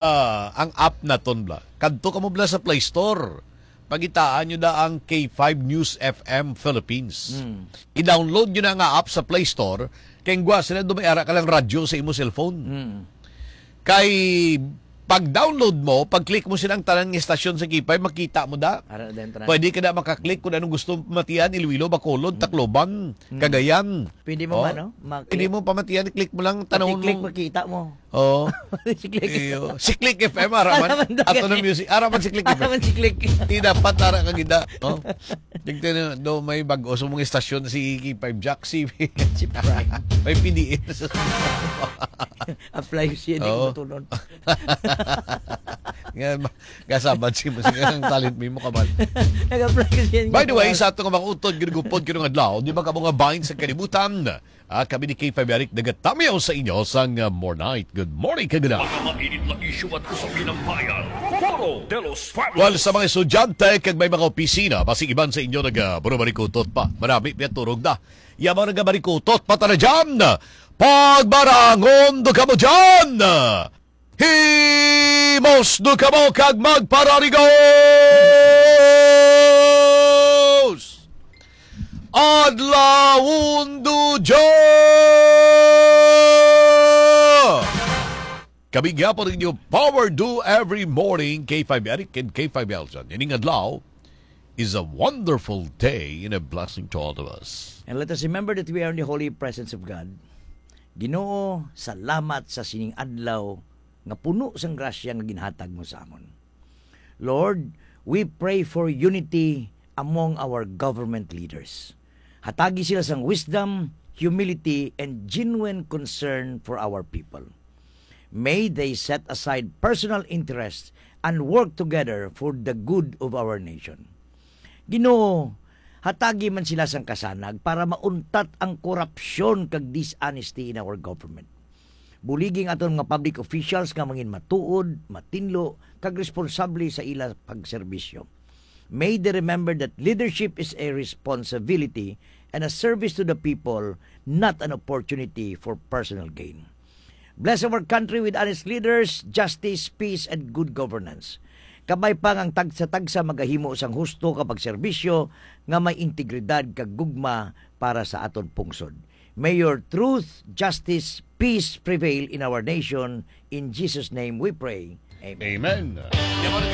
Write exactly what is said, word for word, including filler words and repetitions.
ah, ang app naton, bla. Kadto kamo, bla, sa Play Store. Pangitaan nyo na ang K five News F M Philippines. Mm. I-download nyo na nga app sa Play Store. Kay ngwa sila, dumay ara ka lang radyo sa imo cellphone. Mm. Kay pag-download mo, pag-click mo silang tanan nga estasyon sa K five, makita mo da. Ara na din tanan. Pwede ka na makaklik kung anong gusto mo pamatian, Iloilo, Bacolod, Mm. Tacloban, Mm. Cagayan. Pwede mo Oh. man, no? Maki- Pwede mo pamatian, click mo lang, tanong Pati-click, mo. Makita mo. Oo. Si Click. Iyo. Si Click F M, ara man. Ara man daw Ato na gani. Music, ara man si Click Ara F M. Man si Click. Di dapat ara ka gida. Oh. Tignan do may bag-o sa mga estasyon si K five Jack, si Si Prime. May P D N sa Apply siya, di Oo. ko matulon. Nga, ma-, kasabad si mo, sige, ang talent mo, mo kaman. Nag-apply siya. By the way, sa ato nga mga utod, ginugupod, ginung adlaw, di ba ka mga bind sa kalibutan? Ah, kami ni K five Eric nagatamyaw sa inyo sang, ah, More Night. Good morning, kagala. Mga mainit na isyu at usapin ng bayan. Foro de los Fabulous. Well, sa mga estudyante kag may mga opisina, basig iban sa inyo nagaburubarikutot pa. Marami pa turog na. Yamang nagabarikutot pa tara dyan. Pagbarangon do kamo dyan. Himos do kamo kag magpararigos. Adlawon do dya! Kami gyapon ninyo, Power Do Every Morning, K five Eric and K five Elton. Ining adlaw is a wonderful day and a blessing to all of us. And let us remember that we are in the holy presence of God. Ginoo, salamat sa sining adlaw nga puno sang grasya nga ginhatag mo sa amon. Lord, we pray for unity among our government leaders. Hatagi sila sang wisdom, humility, and genuine concern for our people. May they set aside personal interests and work together for the good of our nation. Ginoo, hatagi man sila sang kasanag para mauntat ang korupsyon kag dishonesty in our government. Buligi ang aton mga public officials nga mangin matuod, matinlo, kag responsable sa ila pagserbisyo. May they remember that leadership is a responsibility and a service to the people, not an opportunity for personal gain. Bless our country with honest leaders, justice, peace, and good governance. Kabay pa nga ang tagsa-tagsa magahimo sang husto ka pagserbisyo nga may integridad kag gugma para sa aton pungsod. May your truth, justice, peace prevail in our nation. In Jesus' name we pray. Amen. Amen.